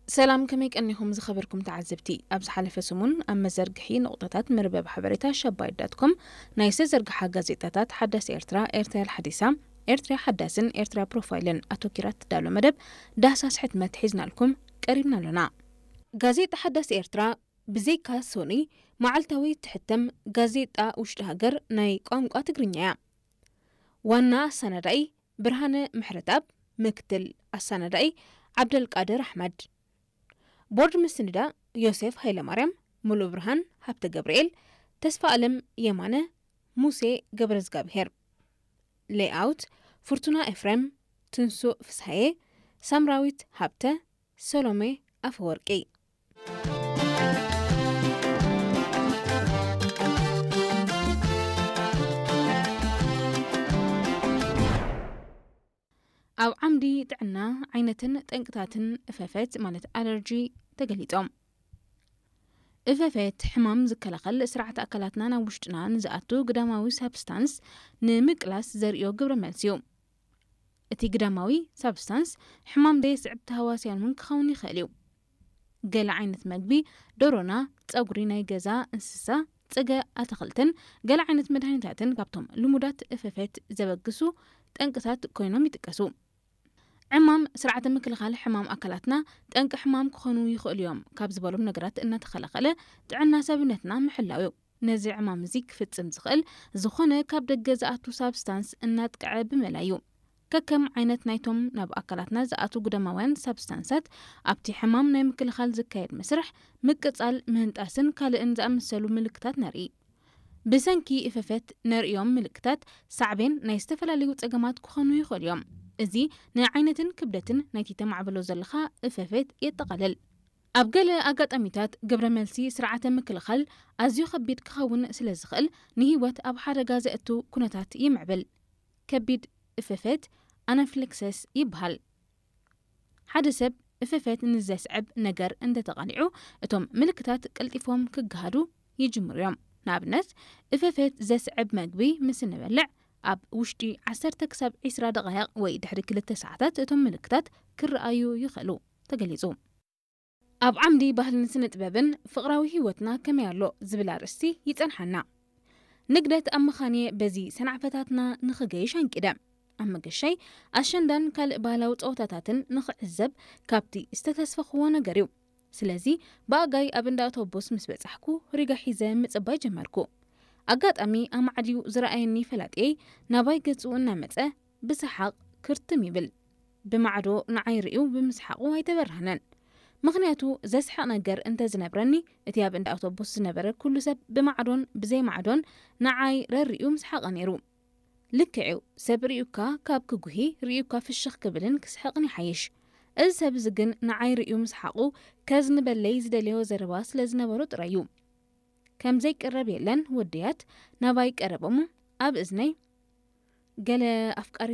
ሰላም፣ ከመይ ቀኒኹም ዝኸበርኩም ተዓዘብቲ? ኣብ ዝሓለፈ ሰሙን ኣብ መዘርግሒ ንቑጣታት መርበብ ሓበሬታ ሸባይት ዳት ኮም ናይ ዝተዘርግሓ ጋዜጣታት ሓዳስ ኤርትራ፣ ኤርትራ ሓዲሳ፣ ኤርትራ ሓዳስን ኤርትራ ፕሮፋይልን ኣተኪራ ትዳሎ መደብ ዳህሳስ ሕትመት ሒዝናልኩም ቀሪብና ኣሎና። ጋዜጣ ሓዳስ ኤርትራ ብዘይካ ሶኒ መዓልታዊ ትሕተም ጋዜጣ ውሽጢ ሃገር ናይ ቋንቋ ትግርኛ እያ። ዋና ኣሰናዳኢ ብርሃነ ምሕረትኣብ፣ ምክትል ኣሰናዳኢ ዓብደልቃድር ኣሕመድ፣ ቦርድ ምስንዳ ዮሴፍ ሃይለማርያም፣ ሙሉ ብርሃን ሃብተ ገብርኤል፣ ተስፋ ኣለም የማነ፣ ሙሴ ገብረዝጋብሄር፣ ሌይኣውት ፍርቱና ኤፍሬም፣ ትንሱእ ፍስሃየ፣ ሳምራዊት ሃብተ፣ ሰሎሜ ኣፈወርቂ። ኣብ ዓምዲ ጥዕና ዓይነትን ጠንቅታትን እፈፈት ማለት ኣለርጂ ተገሊጾም። እፈፈት ሕማም ዝከላኸል ስርዓት ኣካላትና ናብ ውሽጥና ንዝኣቱ ግዳማዊ ሳብስታንስ ንምቅላስ ዘርእዮ ግብረ መልሲ እዩ። እቲ ግዳማዊ ሳብስታንስ ሕማም ዘየስዕብ ተሃዋስያን እውን ክኸውን ይኽእል እዩ። ገለ ዓይነት መግቢ፣ ደሮና፣ ጸጉሪ ናይ ገዛ እንስሳ፣ ጸገ ኣትኽልትን ገለ ዓይነት መድሃኒታትን ካብቶም ልሙዳት እፈፈት ዘበግሱ ጠንቅታት ኮይኖም ይጥቀሱ። ዕማም ስርዓተ ምክልኻል ሕማም ኣካላትና ጠንቂ ሕማም ክኾኑ ይኽእሉ እዮም ካብ ዝበሎም ነገራት እናተኸላኸለ ጥዕና ሰብነትና ምሕላው እዩ። ነዚ ዕማም እዚ ክፍጽም ዝኽእል ዝኾነ ካብ ደገ ዝኣቱ ሳብስታንስ እናጥቅዐ ብመላ እዩ። ከከም ዓይነት ናይቶም ናብ ኣካላትና ዝኣቱ ግደማውያን ሳብስታንሳት ኣብቲ ሕማም ናይ ምክልኻል ዝካየድ መስርሕ ምቅጻል፣ ምህንጣስን ካልእን ዝኣመሰሉ ምልክታት ነርኢ። ብሰንኪ እፈፈት ነርእዮም ምልክታት ሳዕቤን ናይ ዝተፈላለዩ ጸገማት ክኾኑ ይኽእሉ እዮም። እዚ ንዓይነትን ክብደትን ናይቲ ተማዕብሎ ዘለኻ እፈፈት የጠቓልል። ኣብ ገለ ኣጋጣሚታት ግብረ መልሲ ስርዓተ ምክልኻል ኣዝዩ ከቢድ ክኸውን ስለ ዝኽእል ንህይወት ኣብ ሓደጋ ዘእቱ ኩነታት ይምዕብል። ከቢድ እፈፈት ኣናፊላክሰስ ይበሃል። ሓደ ሰብ እፈፈት ንዘስዕብ ነገር እንተተቓሊዑ እቶም ምልክታት ቀልጢፎም ክገሃዱ ይጅምሩ እዮም። ንኣብነት እፈፈት ዘስዕብ መግቢ ምስ እንበልዕ ኣብ ውሽጢ ዓሰርተ ክሳብ ዒስራ ደቓይቕ ወይ ድሕሪ ክልተ ሰዓታት እቶም ምልክታት ክረኣዩ ይኽእሉ ተገሊጹ። ኣብ ዓምዲ ባህልን ስነ ጥበብን ፍቕራዊ ህይወትና ከመይ ኣሎ ዝብል ኣርእስቲ ይጸንሓና። ንግደት ኣብ መኻንየ በዚ ሰናዕፈታትና ንኽገይሽ ኣንቂደ። ኣብ መገሻይ ኣሸንዳን ካልእ ባህላዊ ጸወታታትን ንኽዕዘብ ካብቲ ዝተተስፈኽዎ ነገር እዩ። ስለዚ ብኣጋይ ኣብ እንዳ ኣውቶቡስ ምስ በጻሕኩ ሪጋ ሒዘ ምጽባይ ጀመርኩ። ኣጋጣሚ ኣማዕድዩ ዝረኣየኒ ፈላጥየይ ናባይ ገጹ እናመጸ ብሰሓቕ ክርትም ይብል። ብማዕዶ ንዓይ ርእዩ ብምስሓቑ ኣይተበራህነን። ምኽንያቱ ዘስሕቕ ነገር እንተ ዝነብረኒ እቲ ኣብ እንዳ ኣውቶቡስ ዝነበረ ኩሉ ሰብ ብማዕዶን ብዘይ ማዕዶን ንዓይ ረሪኡ ምስሓቐ ነይሩ። ልክዕ እዩ፣ ሰብ ርእዩካ ካብ ክጉሂ ርእዩካ ፍሽኽ ክብልን ክስሕቕን ይሓይሽ። እዚ ሰብ እዚ ግን ንዓይ ርእዩ ምስሓቑ ከዝንበለይ ዝደለዮ ዘረባ ስለ ዝነበሮ ጥራይ እዩ። ከም ዘይቅረብ የለን ወደያት ናባይ ቀረበሞ ኣብ እዝነይ ገለ ኣፍቃሪ